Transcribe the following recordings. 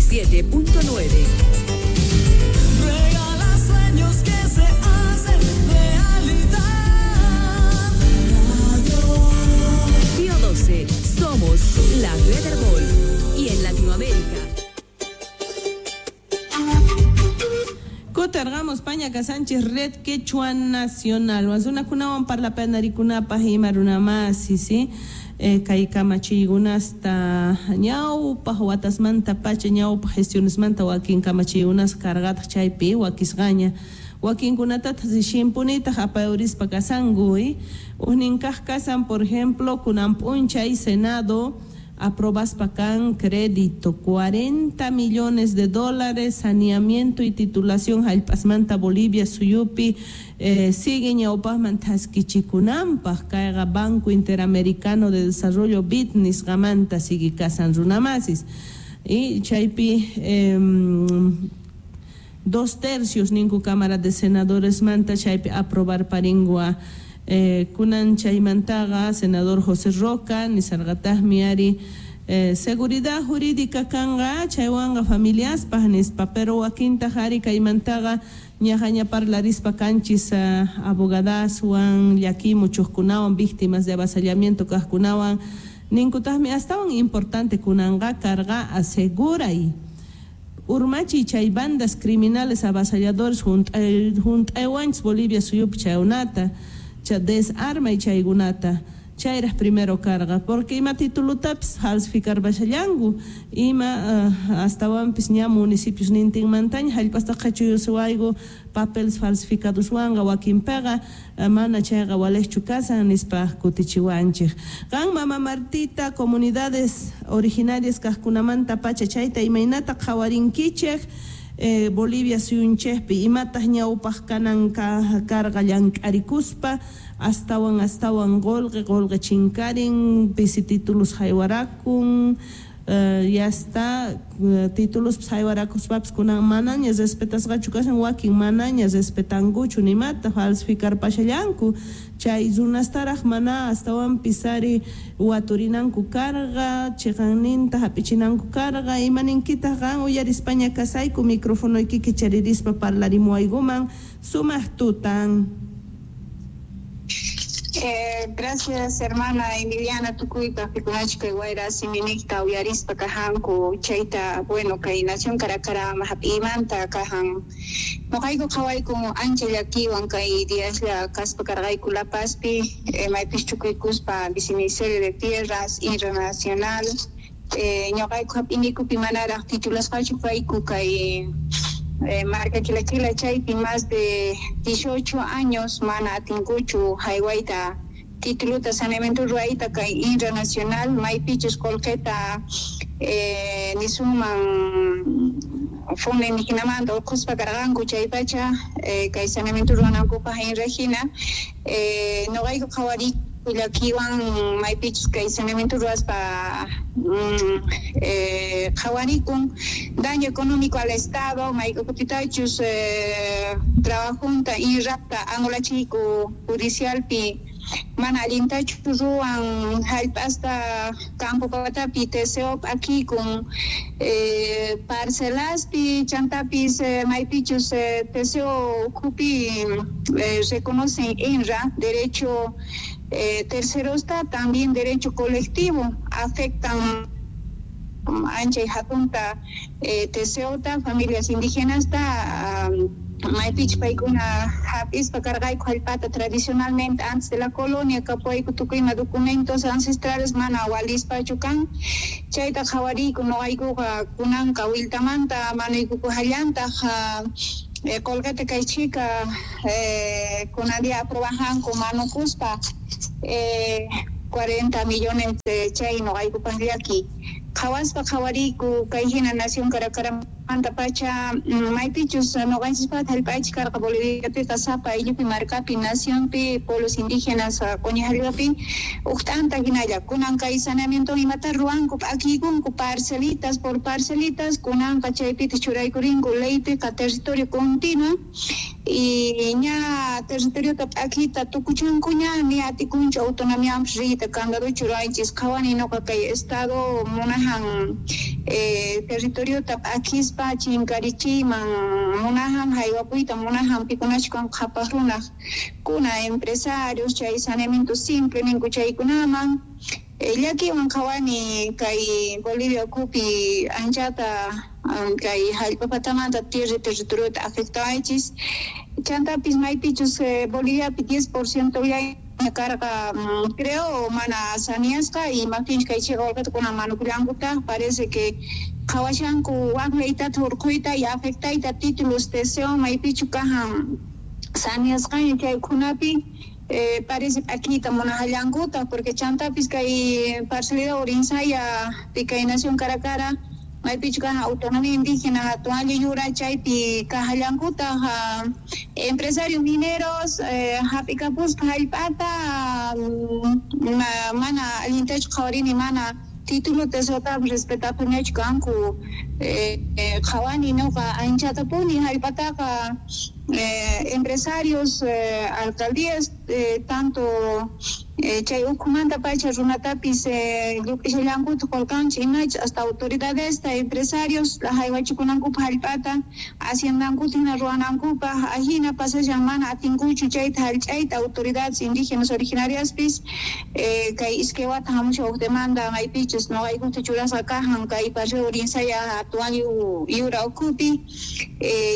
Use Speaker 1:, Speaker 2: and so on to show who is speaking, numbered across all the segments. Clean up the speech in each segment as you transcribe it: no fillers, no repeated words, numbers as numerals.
Speaker 1: 97.9.
Speaker 2: Regala sueños que se hacen realidad. Radio.
Speaker 1: Pío 12, somos la red Herbol. Y en Latinoamérica.
Speaker 3: Kutarqamos Pañaca Sánchez Red Quechua Nacional. Wasunakunawan parlapanarikunapaj ima runamasi, ¿sí? Kay kamachiykunasta ñawpaj watasmanta pacha ñawpaj gestionesmanta wakin kamachiykunas cargataq chaypi wakisqaña. Wakinkunatataq rishimpunitaq apayurispa kasanku, Ujnin kaq kasan, por ejemplo, kunan p'unchay Senado aprobaspa kan crédito 40 millones de dólares saneamiento y titulación jallp'asmanta Bolivia suyupi sigue ñawpajman thaskichikunanpaj kayqa Banco Interamericano de Desarrollo BID nisqamanta sigue kasan runamasis y chaypi 2/3 ninku Cámara de Senadores manta chaypi aprobar paringua. Kunan chaymantaqa senador José Roca nisarqataqmi ari seguridad jurídica kanqa chaywanqa familiaspaj nispa, pero wakintaq ari kaymantaqa ñaqaña parlarispa kanchis abogadaswan llakimuchuqkunawan víctimas de avasallamiento kaqkunawan ninkutaqmi astawan importante kunanqa karqa aseguray urmachiy chay bandas criminales avasalladores junt'aywanchis Bolivia suyupi chaykunata desarma y chaykunata chayraj primero carga porque ima titulutapis falsificar bashallanku ima astawanpis ña municipios nintinmantaña jallp'asta qhachuyusuwayku papeles falsificadoswanqa wakinpiqa mana chayqa walejchu kasan nispa kutichiwanchej. Qan mama Martita comunidades originarias kaqkunamanta pacha chayta imaynata qhawarinkichej Bolivia suyunchejpi imataq ñawpaj kanan karqa llank'arikuspa astawan astawan qolqe qolqe chinkarin pisi títulos haywarakun ya está títulos haywarakuspapis kunan manaña respetasqachu kashan wakin manaña respetankuchu nimata falsificar pashallanku chay runastaraj mana astawanpis ari waturinanku karqa chiqanninta hap'ichinanku karqa imaninkitaq qan uyarispaña kasayku microfonoykiki charirispa parlarimuwaykuman sumaq tutan.
Speaker 4: Gracias hermana Emiliana tukuypaj pikunachka wayra siminikta uyarispa kajanku chayta bueno kay nación Caracarama hap'imanta kajan noqayku qhawayku ancha llakiwan kay diaslla kaspa karqayku La Pazpi maypis chukuykuspa viceministerio de Tierras Internacional ñuqayku hap'inikupi manaraj titulasqachu kayku kay marca Quila chaypi más de 18 años mana atinkuchu haywayta tituluta saneamiento ruwayta kay internacional maypichus qolqeta nisuman fondo indígenamanta urqhuspa karqanku chaypacha kay saneamiento ruwanankupaj inrajina noqayku qhawariyku llakiwan maypichus kay saneamiento ruwaspa qhawarikun daño económico al Estado mayk'ukutitachus trabajunta inrapta anulachiku judicialpi mana allintachu ruwan jallp'asta campo patapi TCO p'akikun parcelaspi chantapis maypichus TCO ukhupi reconocen INRA derecho tercerosta también derecho colectivo afectan ancha y hatunta TCOta familias indígenas ta maypich paykuna hap'ispa karqayku jallp'ata tradicionalmente antes de la colonia kapuyku tukuyma documentos ancestrales mana walispachu kan chayta qhawariyku noqaykuqa kunanqa wiltamanta manuykuku jallantaq qolqeta kay chhika kunan día aprobajanku manukuspa 40 millones chay noqaykupaj llaki qhawaspa qhawariyku kay hina nación Caracaramanta pacha maypichus noqanchispata jallp'aychik karqa Boliviapiqa sapa ayllupi markapi nacionpi pueblos indígenas q'uñi jallp'api uj t'anta hinalla kunan kay saneamiento imata ruwanku p'akiykunku parcelitas por parcelitas kunanqa chaypitaq churaykurinku leypiqa territorio continuo y ña territoriota p'akiyta tukuchankuña ni atikunchu autonomiamanpis riyta candaduchu ruwaychis qhawani noqa kay estado munajan territoriota p'akispa chinkarichiyman munajan haywapuyta munajan pikunachu kanku qhapaq runaq kuna empresarios chay saneamiento simple ninku chaykunaman. Llakiwan qhawani kay Bolivia ukhupi anchata kay hallp'a patamanta tierra territoriota afectawaychis chantapis maypichus Boliviapi 10% llaña karqa creo mana saneasqa imaptinchus kay chiqa qullqita kunan manukullankutaq parece que qhawashanku wak leytata hurquyta y afectayta títulos TCO maypichu kajan saneasqaña chay ukhunapi parece p'akiyta munajallankuta porque chantapis kay parcialidad Urinsaya kay nación Caracara maypichu kajan autonomía indígena hatun ayllu yura chaypi kajallankutaq empresarios mineros hap'ikapuspa hallp'ata mana allintachu qhawarini mana título TCOtapas respetapunichu kanku qhawani nuqa anchatapuni hallp'ataqa empresarios alcaldías tanto chay ukhumanta pacha runatapis lluk'ishallankuta qullqanchik imachus hasta autoridadesta empresarios haywachikunankupaq hallp'ata haciendankuta hina ruwanankupaq ajina pasashan mana atinkuchu chayta hallch'ayta autoridades indígenas originariaspis kay iskay wata hamushan huk demanda maypichus nuqaykuta churasqa kajan kay Paseo Urinsaya hatun ayllu yura ukhupi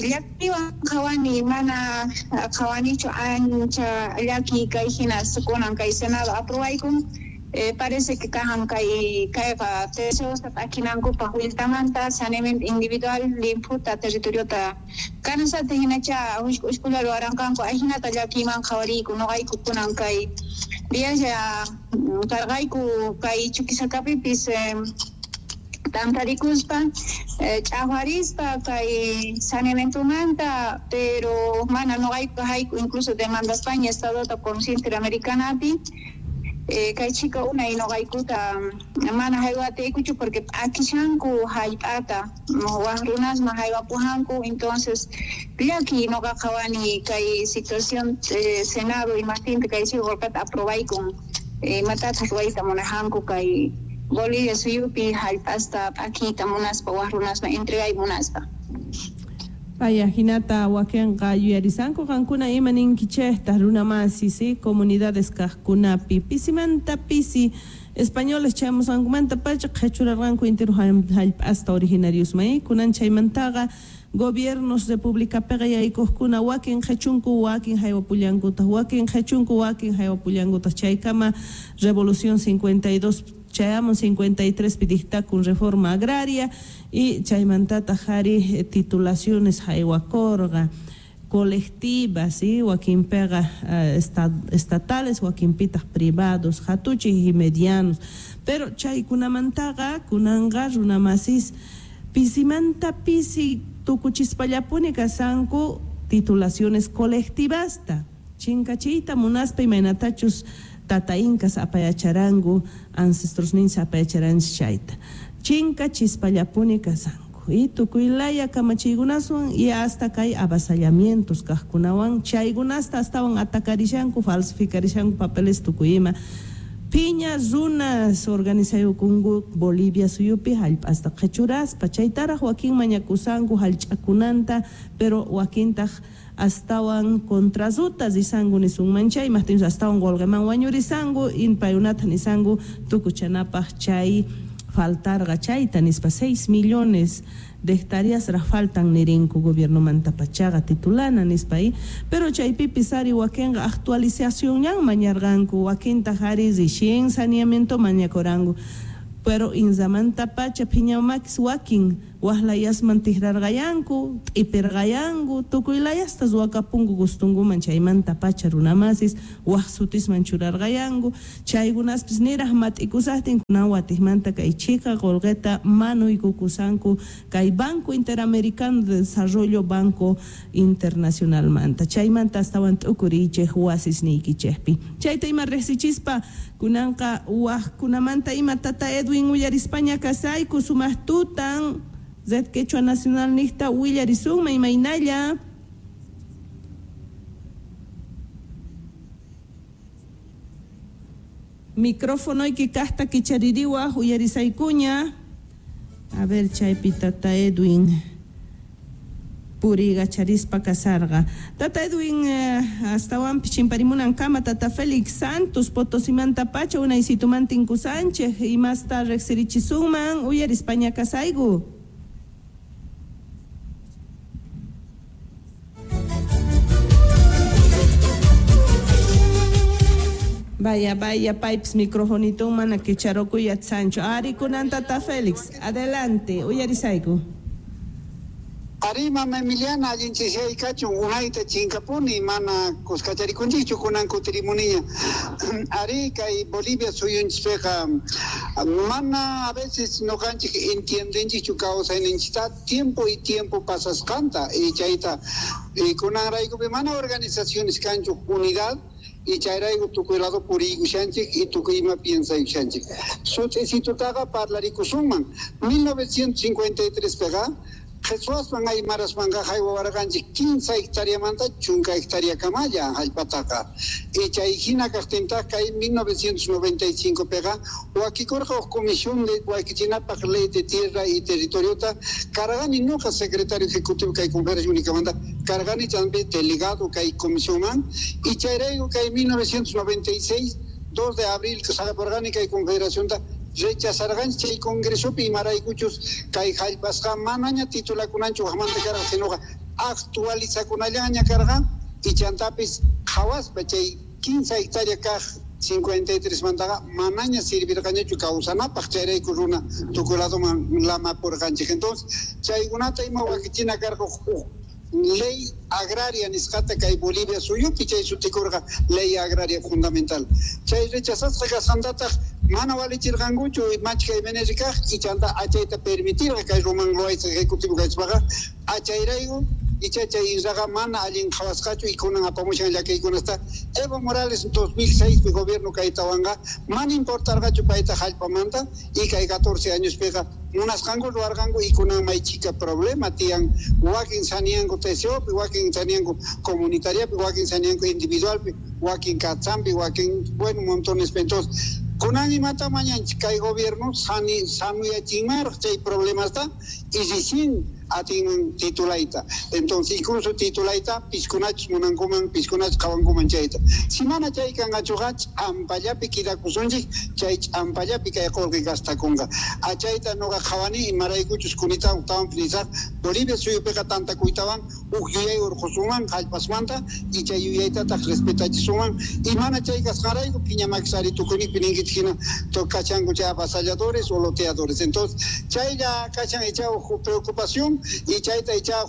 Speaker 4: llakiwan qhawani mana qhawanichu ancha llaki kay hinas kunan kay Senado aprobaykun parece que kajan kay kayqa TCOsta p'akinankupaq willtamanta saneamiento individual limphuta territoriota kanasata hinacha hushk'ushkula ruwaranqanku ajinata llakiyman qhawariyku nuqayku kunan kay viaje karqayku kay Chuquisacapipis tantarikuspa ch'aqwarispa kay saneamientomanta pero mana nuqayku hayku incluso demandaspaña Estadota Comisión Interamericanapi kay chika unay nuqaykuta mana haywatiykuchu porque p'akishanku hallp'ata wak runasman haywapujanku entonces llaki nuqa qhawani kay situación Senado imaqtinta kay chiqa qullqata aprobaykun imatataq ruwayta munajanku kay Bolivia suyupi hallp'asta p'akiyta munaspa wak runasman entregay munaspa.
Speaker 3: Paya hinata wakinqa yuyarisanku qankuna ima ninkichejta runamasi si comunidades kaqkunapi pisimanta pisi españoles chayamusqankumanta pacha qhechurarqanku intero hallp'asta originariosman kunan chaymantaqa gobiernos republicapiqa yaykuqkuna wakin qhechunku wakin haywapullankutaq wakin qhechunku wakin haywapullankutaq chaykama revolución 52 chayamun 53 pi dictakun reforma agraria y chaymantataq ari titulaciones haywakurqa colectivas ¿sí? Wakinpiqa estatales wakinpitaq privados hatuchik y medianos pero chaykunamantaqa kunanqa runamasis pisimanta pisi tukuchispallapuni kasanku titulaciones colectivasta chinkachiyta munaspa imaynatachus tata incas apayacharanku ancestros ninchis apayacharanchis chayta chinkachispallapuni kasanku y tukuylaya kamachiykunaswan y hasta kay avasallamientos kaqkunawan chaykunasta astawan atakarishanku falsificarishanku papeles tukuy ima Piña runas organizayukunku Bolivia suyupi hallp'asta qhechuraspa chaytaraq wakin mañakusanku hallch'akunanta pero wakintaq astawan contrazuta risanku nisunman chay imaqtinchus astawan qullqiman wañurisanku paykunata nisanku tukuchanapaq chay faltarqa chayta nispa 6 millones de hectáreas raq faltan nirinku gobiernomanta pachaqa titulana nispa pero chaypipis ari wakinqa actualizacionñan mañarqanku wakintaq ari recién saneamiento mañakuranku pero inzamanta pacha phiñamakis wakin waqlayasman tikrarqayanku t'ipirqayanku tukuylayasta ruwakapunku gustunkuman chaymanta pacha runamasis waq sutisman churarqayanku chaykunaspis niraq mat'ikusaqtin kunan watiqmanta kay chika qullqita manuykukusanku kay Banco Interamericano de Desarrollo Banco Internacionalmanta chaymanta astawan t'ukuriychej wasisniykichejpi chayta ima riqsichispa kunanqa waqkunamanta ima tata Edwin uyarispaña kasayku sumaq tutan Red Quechua Nacional niqta willarisunman imaynalla. Microfonoyki kaqta kichaririwaq uyarisaykuña. A ver, chaypi tata Edwin puriykacharispa kasarqa. Tata Edwin astawanpis chimparimunankama tata Félix Santos Potosimantapacha unaysituman tinkusanchej imasta riqsirichisunman uyarispaña kasayku. Vaya, vaya, pipes, microfonito mana kicharokuy Sancho. Ari kunan tata Félix, adelante, uyarisayku.
Speaker 5: Ari mama Emiliana, allinchishay kachun unayta chinkapuni mana kuskacharikunchikchu kunan kutirimuniña. Ari kay Bolivia suyunchispiqa mana a veces noqanchik entiendenchikchu kawsayninchikta tiempo y tiempo pasasqanta y chayta y kunanraykupi mana organizaciones kanchu unidad y chayrayku tukuy lado puriykushanchik y tukuy ima piensaykushanchik. Sut'isitutaqa parlarikusunman 1953 piqa Qheswasman aymarasmanqa haywawarqanchik 15 hectáreamanta 10 hectárea kamalla hallp'ataqa. Y chay hina kaqtintaq kay 1995 piqa wakikurqa huk comisión de wakichinapaq ley de tierra y territoriota karqani nuqa secretario ejecutivo kay conferencia únicamanta karqani también delegado kay comisionman y chayrayku kay 1996 2 de abril saqapurqani kay confederacionta rechazarqanchik chay congresopi imaraykuchus kay hallp'asqa manaña titulakunanchu waqmanta karqa sinoqa actualizakunallaña karqa y chantapis qhawaspa chay 15 hectárea kaq 53 mantaqa manaña sirvirqañachu kawsanapaq chayrayku runa tukuy ladoman lamapurqanchik. Entonces chaykunata ima wakichina karqa huk ley agraria nisqata kay Bolivia suyupi chay sutikurqa ley agraria fundamental. Chay rechazasqa kasqantataq mana walichirqankuchu machka MNR kaq y chanta achayta permitirqa kay Roman Loaiza ejecutivo kachpaqa achayrayku icha chay inraqa mana allin qhawasqachu y kunan apamushan llakiykunasta. Evo Morales 2006 pi gobierno kaytawanqa mana importarqachu payta hallp'amanta y kay 14 años piqa munasqanku ruwarqanku y kunan may chika problema tiyan wakin saniyanku TCOpi, wakin saniyanku comunitariapi, wakin saniyanku individualpi, wakin katsampi, wakin bueno montones. Entonces kunan imata mañanchik kay gobierno sanuyachinmaraq chay problemasta y recién atinman titulayta. Entonces incluso titulayta piskunachus munankuman, piskunachus qhawankuman chayta. Si mana chay kanqachuqa ch'ampallapi kidakusunchik, chay ch'ampallapi kay qullqi gastakunqa. Achayta nuqa qhawani imaraykuchus kunita tawan nisaq Bolivia suyupiqa tantakuytawan huk yuyay urqusunman hallp'asmanta y chay yuyaytataq respetachisunman y mana chay kasqanrayku phiñamakisari tukuyninpi ninkichik hina kachanku chay avasalladores o loteadores. Entonces chaylla kachan icha huk preocupación y chayta icha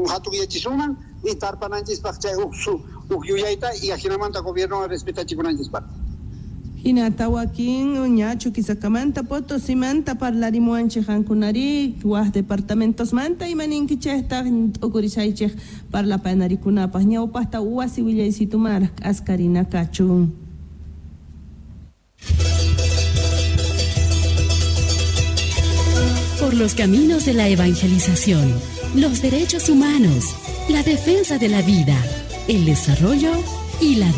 Speaker 5: hatuyachisunman y tarpananchispaq chay huk yuyayta y ajinamanta gobierno respetachikunanchispaq.
Speaker 3: Hinata wakin ñachu Chuquisakamanta Potosimanta parlarimuanchik qankunari waj departamentosmanta imaninkichejtaq t'ukurisaychej parlapanarikunapaq ñawpaqta wasi willaysitumar k'askarina kachun.
Speaker 1: Por los caminos de la evangelización, los derechos humanos, la defensa de la vida, el desarrollo y la